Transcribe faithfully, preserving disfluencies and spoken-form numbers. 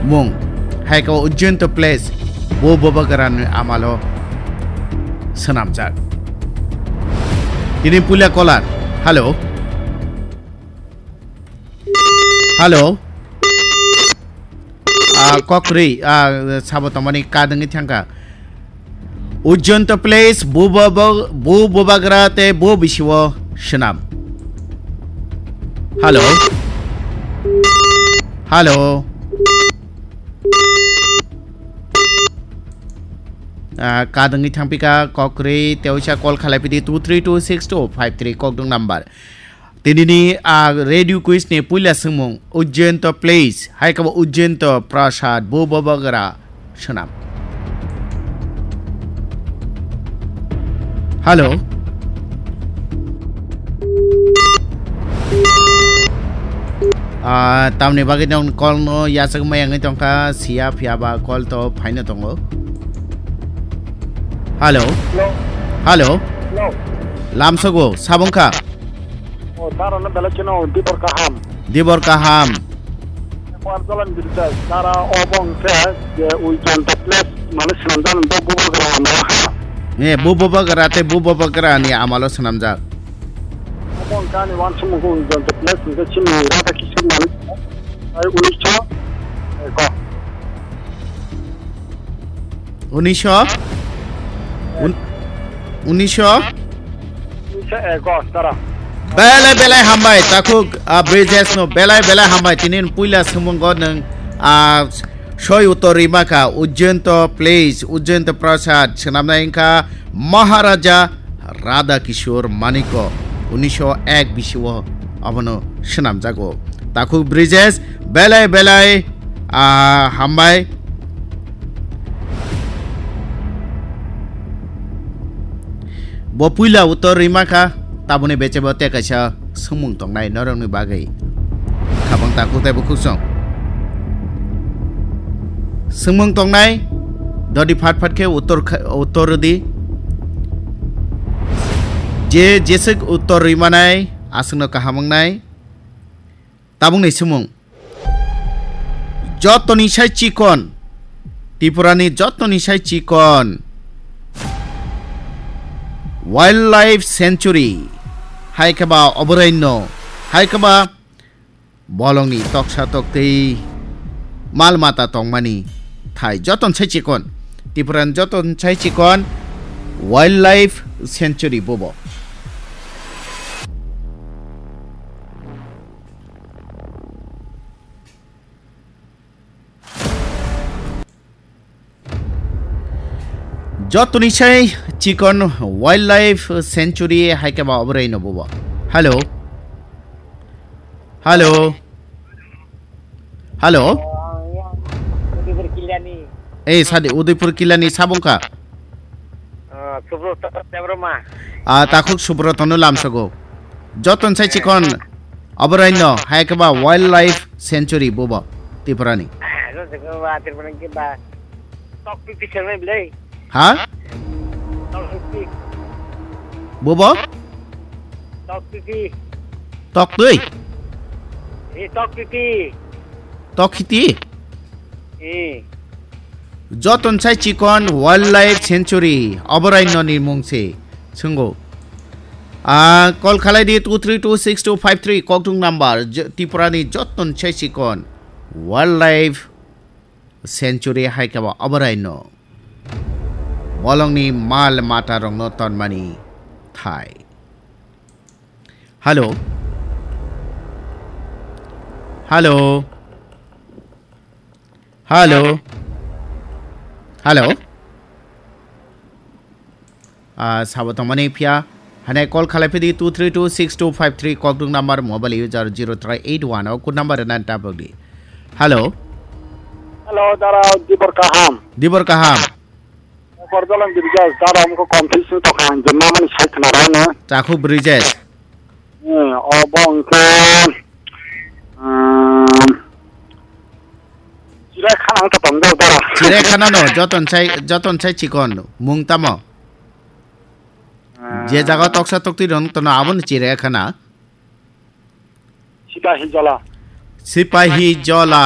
mung, hai khe Ujjainto Place, bo Bubagrani amalo swnamjak. Tini puila caller. Hello. Hello. Ah, kok kwrwi, ah, sabo tongmani kadwngwi thangkha. Ujjainto Place, bo Buba-, bo Bubagra tei bo bisio swnam. Hello. Hello. Ah, kadwngwi thangphika kok kwrwi, teoisa call khalai pidi two three two six two five three kokdwng number. Tinini a radio quiz ni puila swngmung, Ujjainto Place, hai khe bo Ujjainto Prasad, bo Bubagra swnam. Hello. Ah, tamni bagwi nang call no yachak maya wngwi tongkha, siya phiya ba call to phaino tongo. Hello. Hello. Hello. Hello. Lamsogo, sabongkha. O, taro no belai kheno dibor kaham. Dibor kaham. Kuar jalan birjai, tara obong khe je Ujjainto Place mane swnamjak bo Bubagra amalo ha. Eh, bo Bubagra tei bo Bubagra ni amalo swnamjak. Obong kani wansukmung Ujjainto Place hingke chini Radha Kishore mane ai unisho eko. Unisho? Un-, unisho? Unisho eko, tara. Belai belai hambai, takhuk, ah, Brijesh no belai belai hambai. Tini puila swngmungo nwng, ah, soi uttor rima kha, Ujjainto Place, Ujjainto Prasad, swnamnai wngkha Maharaja Radha Kishore Manikya, unisho ek bisio abono swnamjago. Takhuk Brijesh, belai belai, ah, hambai. Bo puila uttor rima kha, taboni bechebo tei kaisa swngmung tongnai norokni bagwi. Khabang takhuk tei bukhuk song. Swngmung tongnai, dodi phat phat khe uttor kha-, uttor rwdi. Je jeswk uttor rwi manai, aswkno kaham wngnai. Tabukni swngmung. Jotoni sai chikon, Tripurani jotoni sai chikon Wildlife Sanctuary, hai khe ba oborayonno, hai khe ba bolongni toksa toktwi mal mata tongmani thai. Joton sai chikon, Tripurani joton sai chikon Wildlife Sanctuary bobo. Jotoni sai chikon Wildlife Sanctuary hai khe ba oborayonno bobo. Hello. Hello. Hello. Udaipur Kilani. Eh, sadi Udaipur Kilani sabongkha. Ah, Subroto Debbarma. Ah, takhuk Subroto no lamsogo. Joton sai chikon oborayonno hai khe ba Wildlife Sanctuary bobo Tripurani. Ah, joto ba Tripurani ba. Tokpipi sangnai bwlai. Ha? Tokpipi. Bobo? Tokpipi. Toktwi? Eh, tokpipi. Tokhiti? Eh. Joton sai chikon Wildlife Sanctuary, oborayonno ni mung se, swngo. Ah, call khalai di two three two six two five three, kokdwng number, j-, Tripurani joton sai chikon Wildlife Sanctuary hai khe ba oborayonno. Bolongni mal mata rokno tonmani thai. Hello. Hello. Hello. Hello. Ah, sabo tongmani phiya. Hane call khalai phidi two three two six two five three, kokdwng number, mobile user zero three eight one o, code number nan tabuk di. Hello. Hello, dara dibor kaham. Dibor kaham. Korjalang Birjas, dara amko confuse tokha, je mamani sai khna rano. Takhuk Brijesh. Eh, obo hwnkhe, um, Chirai khana wngkha tong dara. Chirai khana no, joton sai, joton sai chikon, mung tamo? Ah. Je jaga toksa toktwi rok tono, abono chirai khana. Sipahi Jola. Sipahi Jola,